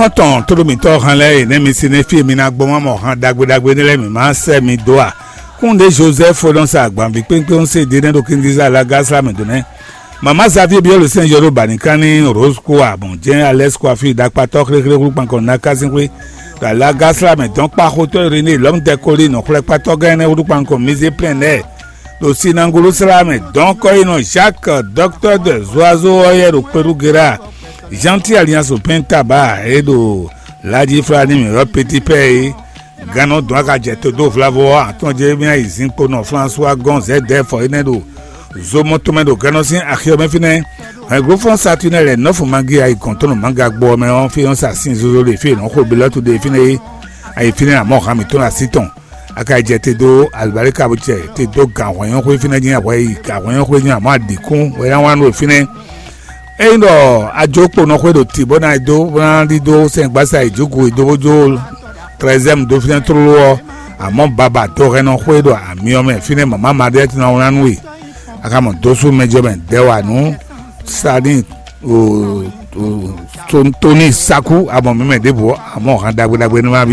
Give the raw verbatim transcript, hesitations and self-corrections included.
Xɔ́ntɔn tóɖó mǐtɔn hɛn lɛ́ɛ e nɛ́ mi si nɛ́ fí e mi ná gbɔn má mɔ han ɖagbe ɖagbe énɛ́ lɛ́ɛ mǐ má sɛ́ mi dó a? Kúnɖé Josɛ́f Fodɔ́nsa agbanví kpékpé ń se ɖé nɛ́ ɖo kíndíza Lagasla mɛ dó nɛ́. Mama Xavier byɔ́ lǒ sɛn yɔ́ ɖó bǎnikánní Rose kó a bɔn jɛ́n Alɛ́s kó afí ɖakpatɔ́ xléxlé húlúkpankɔ ná kásínxwé ɖo Lagasla mɛ dɔn kpa xotɔ́ Iréné lɔ̌mdɛkoli nɔxlɛ́kpatɔ́ gán énɛ́ húlúkpankɔ Mizé Plɛ́n lɛ́ɛ ɖo Sinangolo slá mɛ dɔn kɔ́yinɔ Jacques, dɔktɔ́ de Zuazo ɔ́ yɛ ɖo Kpelugera, Jean-Pierre Alliance Pɛn Taba e ɖo Laji Flani mǐ ɔ́ Petit Pɛ é. Gannɔ dɔn aka jɛ to dó vlavo ɔ́ atɔn jɛ mía yi zinkpo nɔ François gɔn zɛdɛfɔ énɛ́ ɖo zomɔ tɔn mɛ ɖo gannɔ sín axi ɔ́ mɛ fínɛ́. Hɛ̌nglófɔ́n Satunɛ lɛ nɔ́fu magi ayi gɔn tɔn nɔ manga gbɔ ɔ́ mɛ ɔ́ fí ɔ́ sa sin zozo ɖe fí e nɔ́ xo Belɔ́tu ɖe fínɛ́ é. Ayi fínɛ́ amɔ̌ han mǐtɔn ɖo así tɔn. Aka yi jɛ te dó alibali ka bó jɛ te dó gan hwɛnyɔ́xwé fínɛ́ jí ahwɛ yi gan hwɛnyɔ́xwé jí amɔ̌ adǐkún wɛ ná wá nú fínɛ́. Ényí ɖɔ ajó kponɔ xwé ɖo tǐ bó ná yi dó bó ná ɖidó sɛngbásá yi jǔgu yi dó bó jó trɛzɛ́mu dó fínɛ́ tlóló ɔ́, amɔ̌ baba dohɛnnɔ xwé ɖo amyɔ mɛ fínɛ́ mama Maɖiɛ́ tɔn ná wlán nú we. Aka mɔ dósú mɛjɔ mɛ dɛwa nú sani o o tóní sakú amɔ mɛ mɛ ɖěbǔ amɔ̌ han ɖagbe ɖagbe ní ma byɔ́.